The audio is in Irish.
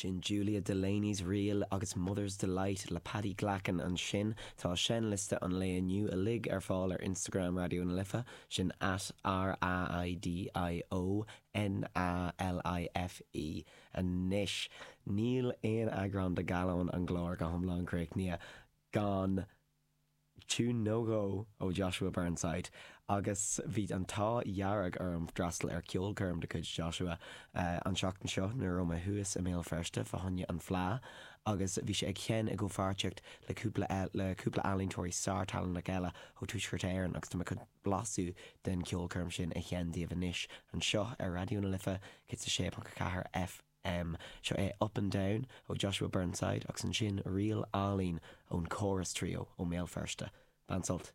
Sin Julia Delaney's Ríl agus Mother's Delight le Paddy Glackin ansin. Tá seinnliosta an lae inniu uilig ar fáil ar Instagram Raidió na Life, sin at R-A-I-D-I-O N-A-L-I-F-E. Anois, níl aon eagrán de Gallán an gCláir go hiomlán críochnaithe gan tiún nó dhó ó Joshua Burnside agus bhí an t-ádh dhearg orm freastal ar ceolchoirm de chuid Joshua an tseachtain seo nuair a raibh mé thuas i mBéal Feirste fá choinne an Fleadh agus bhí sé ag seinm i gcomhpháirtíocht le cúpla le cúpla ealaíontóirí sár-tallanach eile ó Tuaisceart Éireann agus tá mé chun blaiseadh den cheolchoirm sin a sheinm daoibh anois anseo ar Raidió na Life 106.4 FM. Seo é Up and Down ó Joshua Burnside agus ansin Ríl Álainn ón Chorus Trio ó mBéal Feirste. Bain sult!